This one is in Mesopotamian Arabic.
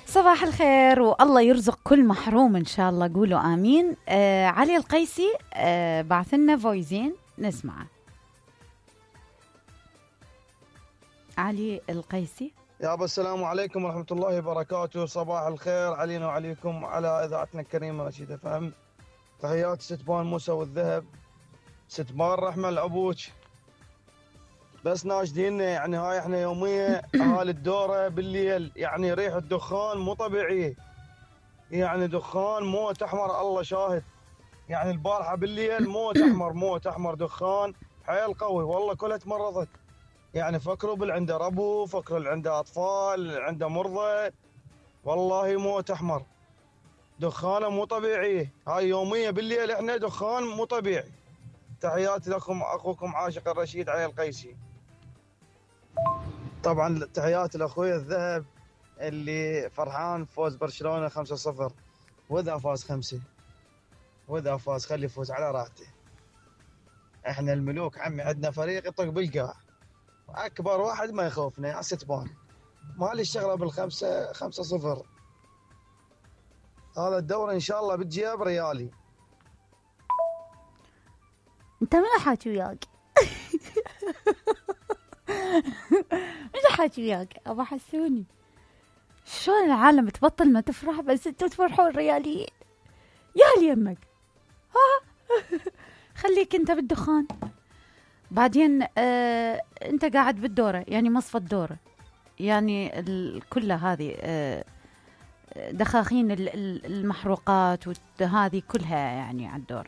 صباح الخير والله يرزق كل محروم إن شاء الله، قولوا آمين. علي القيسي بعث لنا فويزين نسمعه. علي القيسي. يابا السلام عليكم ورحمة الله وبركاته، صباح الخير علينا وعليكم على إذاعتنا الكريمة رشيد FM. تحياتي ستبان موسى والذهب، ستبان رحمة العبوج. بس ناشدين يعني هاي احنا يومية اهالي الدورة بالليل، يعني ريحة دخان مو طبيعية، يعني دخان موت احمر الله شاهد. يعني البارحة بالليل موت احمر دخان حيل قوي، والله كلها تمرضت. يعني فكروا بالعنده ربو، فكروا اللي عنده اطفال، اللي عنده مرضى، والله موت احمر دخانه مو طبيعية. هاي يومية بالليل احنا دخان مو طبيعي. تحياتي لكم اخوكم عاشق الرشيد علي القيسي. طبعا تحياتي لاخوي الذهب اللي فرحان فوز برشلونة 5-0، واذا فاز 5 واذا فاز خلي يفوز على راحته. احنا الملوك عمي، عندنا فريق يطق بالقاع، اكبر واحد ما يخوفنا يا ستبان. مالي الشغله بالخمسه 5-0. هذا الدوري ان شاء الله بتجيب ريالي. انت من حاكي وياك؟ من حاكي وياك ابو حسوني؟ شلون العالم تبطل ما تفرح بس انتوا تفرحوا الرياليين؟ يا ليمك ها. خليك انت بالدخان بعدين. انت قاعد بالدورة، يعني مصفى الدورة، يعني كلها هذه دخاخين المحروقات وهذه كلها يعني على الدورة.